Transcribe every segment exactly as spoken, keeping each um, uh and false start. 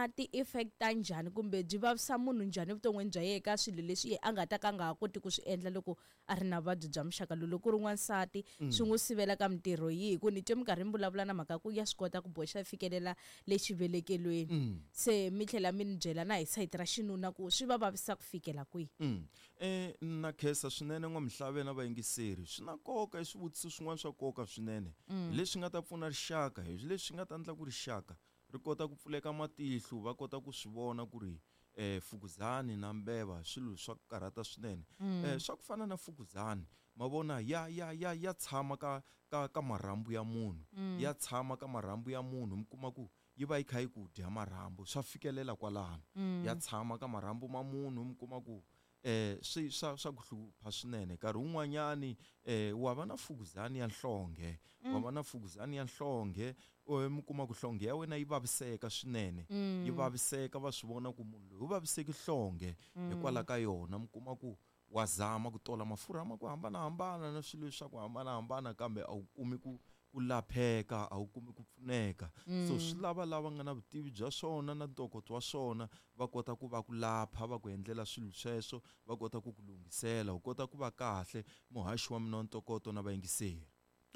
na ti-effect ta njhani kumbe byi vavisa munhu njhani evuton'wini bya yena ka swilo leswi ye a nga ta ka a nga ha koti ku swi endla loko a ri na vuvabyi bya muxaka lowu? Loko ku ri n'wansati, swi n'wi sivela ka mintirho yihi? Ku ni twe minkarhi mi vulavula na mhaka ku ya swi kota ku boxa fikelela le xivelekelweni, se mi tlhela mi ni byela na hi sayiti ra xinuna ku swi va vavisa ku fikela kwihi. Mm. Eh na khensa swinene n'wamihlave na vayingiseri. Swi na nkoka, i swivutiso swin'wana swa nkoka swinene leswi nga ta pfuna rixaka, hi leswi nga ta endla ku rixaka ri kota ku pfuleka matihlo, va kota ku swi vona ku ri eh fukuzani na mbeva swilo swa ku karhata swinene. Eh swa ku fana na fukuzani, ma vona, ya ya ya ya tshama ka ka ka marhambu ya munhu, ya tshama ka marhambu ya munhu, mi kuma ku yi va yi kha yi ku dya marhambu, swa fikelela kwalano, ya tshama ka marhambu ma munhu, mi kuma ku eh swi swa swa ku hlupha swinene. Nkarhi wun'wanyani eh wa va na fukuzani ya nhlonge, wa va na fukuzani ya nhlonge, mi kuma ku nhlonge ya wena yi vaviseka swinene, yi vaviseka, va swi vona ku munhu loyi u vaviseki nhlonge hikwalaho ka yona. Mi kuma ku wa zama ku tola mafurha ma ku hambanahambana na swilo swa ku hambanahambana, kambe a wu kumi ku ku lapheka, a wu kumi ku pfuneka. So swi lava lava nga na vutivi bya swona na ntokoto wa swona va kota ku va ku lapha, va ku endlela swilo sweswo, va kota ku ku lunghisela, u kota ku va kahle. Muhaxi wa mina wa ntokoto na vayingiseri.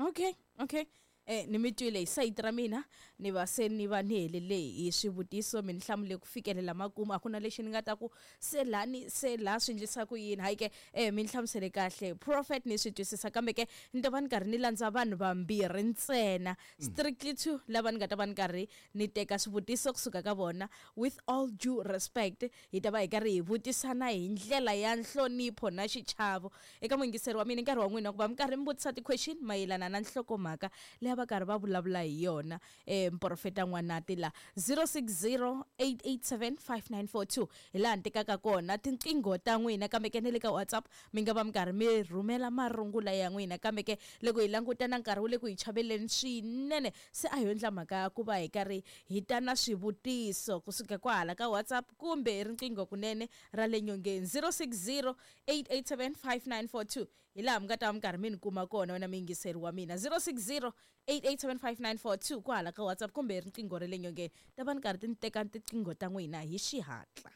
Okay, okay. Eh ni mi twile hi sayiti ra mina, ni va se ni va ni helele hi swivutiso, mi ni hlamule ku fikelela makumu, a ku na lexi ni nga ta ku se lani se laha swi endlisa ku yini. Hayi ke, eh mi ni hlamusele kahle prophet, ni swi twisisa, kambe ke ni ta va ni karhi ni landza vanhu vambirhi ntsena, strictly two, lava ni nga ta va ni karhi ni teka swivutiso kusuka ka vona. With all due respect, hi ta va hi karhi hi vutisana hi ndlela ya nhlonipho na xichavo. Eka muyingiseri wa mina, nkarhi wa n'wina ku va mi karhi mi vutisa ti-question mayelana na nhlokomhaka leyi va karhi va vulavula hi yona eh muprofeta N'wanati la, zero six zero eight eight seven five nine four two hi laha ni tekaka kona tinqingho ta n'wina, kambe ke na le ka WhatsApp mi nga va mi karhi mi rhumela marungula ya n'wina. Kambe ke loko hi languta na nkarhi wu le ku hi chaveleni swinene, se a hi endla mhaka ya ku va hi karhi hi ta na swivutiso kusuka kwahala ka WhatsApp kumbe hi riqingho kunene ra le nyongeni, zero six zero eight eight seven five nine four two hi laha mi nga ta va mi karhi mi ni kuma kona wena muyingiseri wa mina, zero six zero eight eight seven five nine four two kwahala ka WhatsApp kumbe hi riqingho ra le nyongeni. Ta va ni karhi ti ni teka tiqingho ta n'wina hi xihatla.